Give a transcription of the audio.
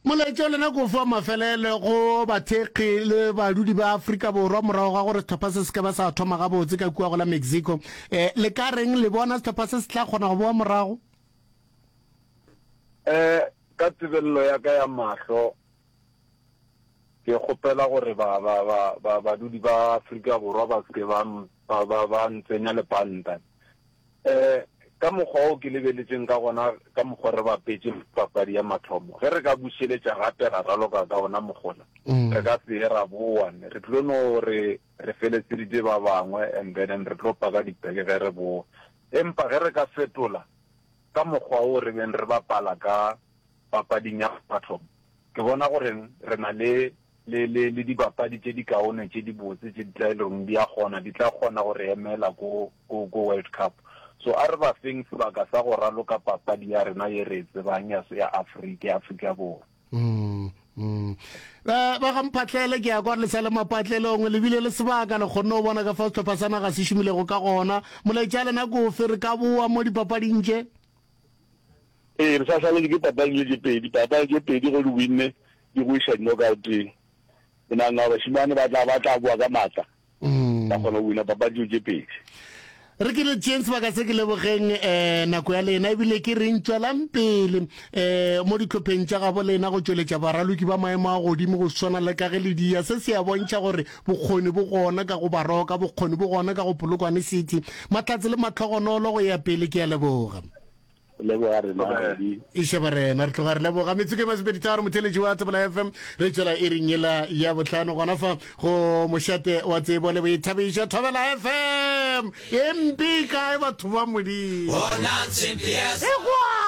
Molaetša wa lena ke ofe wa mafelelo go bathekgi le badudi ba Afrika Borwa morago ga gore sehlopha se se ka ba sa thoma gabotse ka kua go la Mexico? Eh, le ka reng le bona sehlopha se se tla kgona go boa morago? Eh, ka tebelelo ya ka ya mahlo, ke kgopela gore ba, ba, ba, ba, badudi ba Afrika Borwa ba se ke ba, ba, ba, ba ntsenya lepanta. Eh, ka mokgwa wo ke lebeletšeng ka gona, ka mokgwa re bapetše papadi ya mathomo, ge re ka bušeletša gape ra raloka ka ona mokgola, re ka se ye ra boa. Re tlo no re re feletseditše ba bangwe and then re tlo paka dipeke ge re boa. Empa ge re ka fetola ka mokgwa wo re beng re bapala ka papading ya mathomo, ke bona gore re na le le, le, le dibapadi tše dikaone tše dibotse tše di tla e leng di a kgona, di tla kgona go re emela ko, ko, ko World Cup. So a re ba feng sebaka sa go raloka papadi ya rena ye re e tsebang ya, ya Afrika, ya Afrika Borwa. Mm, mm. Ba, ba ga Mphahlele, ke ya kwa le sa le mapatlelong, le bile le sebaka, le kgonne go bona ka fao sehlopha sa naga se šomilego ka gona. Molaetša lena ke ofe? Re ka boa mo dipapading tše? Ee, re sa šaletše ke papadi le tše pedi. Papadi tše pedi ge o di winne di go iša di-knockout-eng. Ke nagana gore bašemane ba tla, ba tla boa ka maatla ba kgona go wina papadi tšeo tše pedi. Re ke le tšeeng sebaka se ke lebogeng um nako ya lena ebile ke reng tšwelang pele um mo dihlopheng tša gabo lena go tšweletša baraloki ba maemo a godimo go swana le ka ge le dia. Se se a bontšha gore bokgoni bo gona ka go Baroka, bokgoni bo gona ka go Polokwane City. Mahlatse le mahlogonolo go ya pele, ke a leboga. Leboga rena Eddie. Iše barena, re tloga re leboga. Metsotso e masomepeditharo, motheeletši wa Thobela FM, re tšwela iring yela ya bohlano gona fa go mošate wa tsebo le boithabišo. Thobela FM, e mpe e kae batho ba Modimo? Ekwa!